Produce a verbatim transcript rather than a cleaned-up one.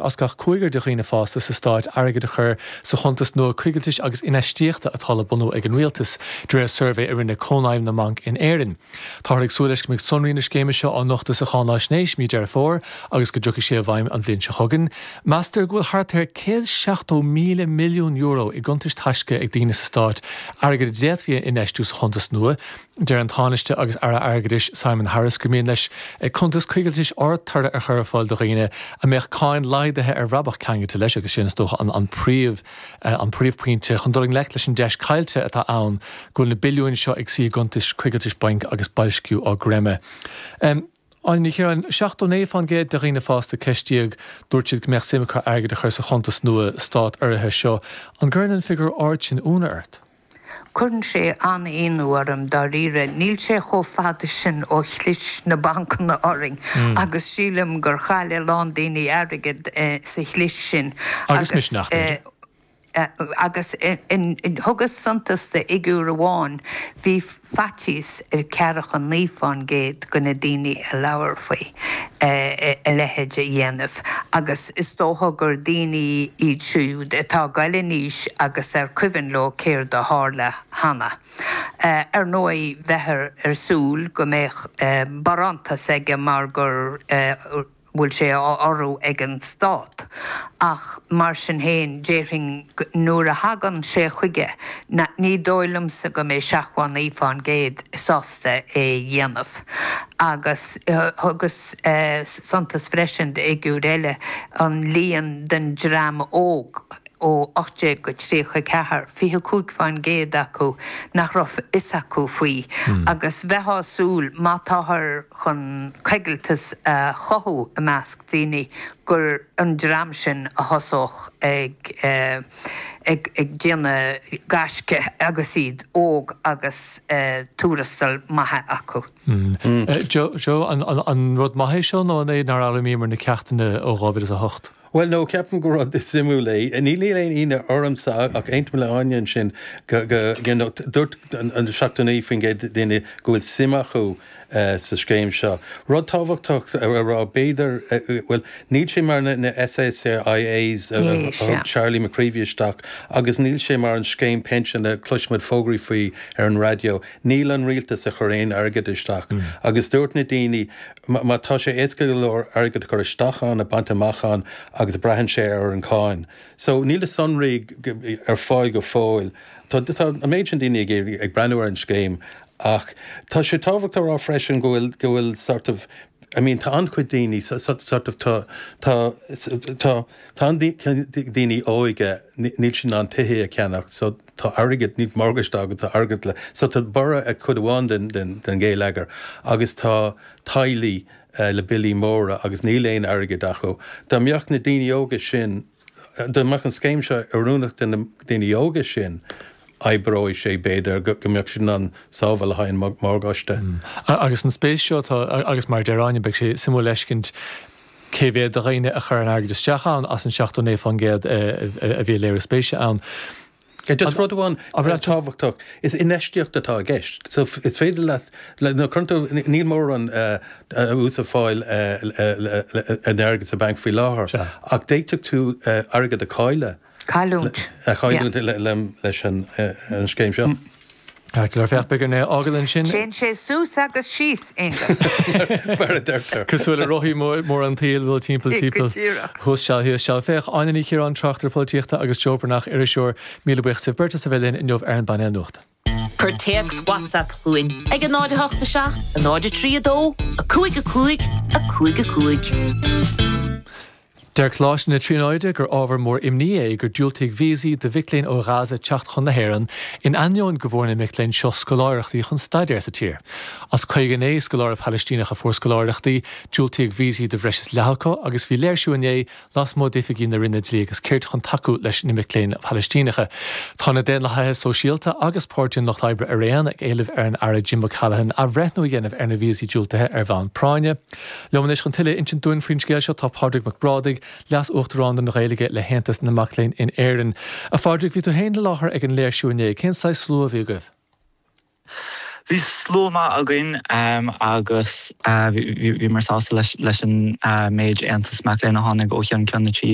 as gach cúigear de dhaoine fásta sa stát airgead a chur sa chuntas nua coigiltis agus infheistíochta atá le bunú ag an rialtas de réir suirbhé a rinne Cónaidhm na mBanc in Éirinn. Táthar ag súil leis go mbeidh sonraí na scéime seo á nochtadh sa cháinaisnéis mí Deireadh Fómhair agus go dtiocfaidh sé i bhfeidhm an bhliain seo chugainn. Meastar go bhfuil thart ar céad seachtó míle milliún euro i gcuntais taisce ag daoine sa stát, airgead a d'fhéadfaí a infheistiú sa chuntas nua. Deir an Tánaiste agus Aire Airgeadais Simon Harris go mian leis cuntas coigiltis ardtoraidh a chur ar fáil do dhaoine a mbeadh cáin laghdaithe ar bhrabach ceangailte leis agus sin is dócha an an príomh an príomhphointe chun dul i ngleic leis an deis caillte atá ann go bhfuil na billiúin seo ag suí i gcuntais coigiltis bainc agus boilsciú á gcreimeadh. Um, Áine Ní Chiaráin, seachtó naoi faoin gcéad de dhaoine fásta ceistíodh dúirt siad go mbeadh suim acu airgead a chur sa chuntas nua stát-urraithe seo. An gcuireann an figiúr ard sin ionadh ort? Cuireann sé an-ionadh orm dáiríre, níl sé chomh fada sin ó chlis na bancanna orainn agus sílim gur chaill a lán daoine airgead sa chlis sin. Agus misneach, b'fhéidir. Agus thugas suntas do fhigiúr amháin, bhí faitíos ar ceathracha naoi fán gcéad de na daoine a labhair faoi a leithéid a dhéanamh agus is dócha gur daoine iad siúd atá ag goil in aois agus ar cuimhin leo céard a tharla cheana. Ar ndóigh bheifear ar súil go mbeadh barántas aige mar gur bhfuil sé á urrú ag an stát ach mar sin féin déarfainn nuair a thagann sé chuige ní dóigh liomsa go mbeidh seachtó naoi fán gcéad sásta é dhéanamh. Agus thugas suntas freisin d'fhigiúr eile, an líon den dream óg ó ocht déag go tríocha ceathair, fiche cúig fán gcéad acu nach raibh fhios acu faoi agus bheifeá ag súil má táthar chun coigilteas a chothú i measc daoine gur an dream sin a thosódh ag ag ag déanamh gaisce agus iad óg agus tuarastal maith acu. Joe, Joe, an an rud maith é seo nó an é nár fhoghlaimíomar na ceachtanna ó dhá mhíle is a hocht? Bhuel, no, ceapaim gur rud suimiúil é. Níl aon ionadh ormsa ach aontaím le Áine ansin go, go, you know, dúirt an seachtó naoi faoin gcéad daoine go bhfuil suim acu sa scéim seo. Rud tábhachtach a rá, b'fhéidir, bhuel, níl sé mar na SSIAs a thug Charlie McCreevy isteach agus níl sé mar an scéim pinsean a chloisimid fógraí faoi ar an raidió. Níl an rialtas ag cur aon airgead isteach agus dúirt na daoine má tá sé éasca go leor airgead a chur isteach ann, a bhaint amach ann agus braitheann sé ar an cáin. So níl na sonraí ar fáil go fóill. Tá tá an méid sin daoine ag ag breathnú ar an scéim ach tá sé tábhachtach a rá freisin go bhfuil go bhfuil sort of I mean tá an-chuid daoine sort of tá tá tá tá an daoine óige níl siad in ann tithe a cheannach so tá airgead níl morgáiste agus tá airgead le so tá borradh ag cuid amháin den den den gheilleagar agus tá teaghlaigh le billí móra agus níl aon airgead acu. Dá mbeadh na daoine óga sin dá mbeadh an scéim seo oiriúnach do na daoine óga sin oibreoidh sé b'fhéidir go mbeadh siad in ann sábháil le haghaidh an morgáiste. Agus an spéis seo atá agus mar a deir Áine beidh sé suimiúil a fheiscint cé mhéad de dhaoine a chuir an airgead isteach ann as an seachtó naoi faoin gcéad a bhí ag léiriú spéise ann. Just rud amháin tábhachtach, is infheistíocht atá i gceist. So is féidir leat, nó cuireann tú, níl mórán ús ag fáil an airgead sa banc faoi láthair, ach d'fhéadfadh tú airgead a chailleadh. Cailliúint. A chailliúint leis an scéim seo. Féach, beidh orainn é a fhágáil ansin. Téann sé suas agus síos, Aonghus. Mar a deirtear. Cosúil le rothaí móra an tsaoil, dul timpeall Go timpeall. díreach. Thuas seal, thíos seal. Féach, Áine Ní Chiaráin, tráchtaire polaitíochta agus Joe Breathnach, iriseoir. Míle buíochas libh beirt as a bheith linn inniu ar an bpainéal nuachta. Cuir téacs WhatsApp chugainn ag a náid a hocht a seacht, a náid a trí a dó, a cúig a cúig, a cúig a cúig. Deir Coláiste na Tríonóide gur ábhar mór imní é gur diúltaíodh víosaí do mhic léinn ó Ghaza teacht chun na hÉireann, in ainneoin go bhfuair na mic léinn seo scoláireachtaí chun staidéar sa tír. As caoga naoi scoláire Palaistíneach a fuair scoláireachtaí, diúltaíodh víosaí do bhreis is leath acu agus bhí léirsiú inné lasmuigh d'oifigí na Roinne Dlí agus Cirt chun tacú leis na mic léinn Phalaistíneacha. Tá na Daonlathaithe Sóisialta agus Páirtí an Lucht Oibre araon ag éileamh ar an Aire Jim O'Callaghan athbhreithniú a dhéanamh ar na víosaí diúltaithe ar bhonn práinne. Liom anois chun tuilleadh a insint dúinn faoin scéal seo tá Pádraig Mac Brádaigh, Leas-Uachtarán don Ghaeilge le hAontas na Mac Léinn in Éirinn. A Phádraig, bhí tú féin i láthair ag an léirsiú inné. Cén saghas slua a bhí agaibh? Bhí slua maith againn um, agus uh, bhí mar sásta leis, leis an uh, méid aontas mac léinn a tháinig ó cheann ceann na tíre.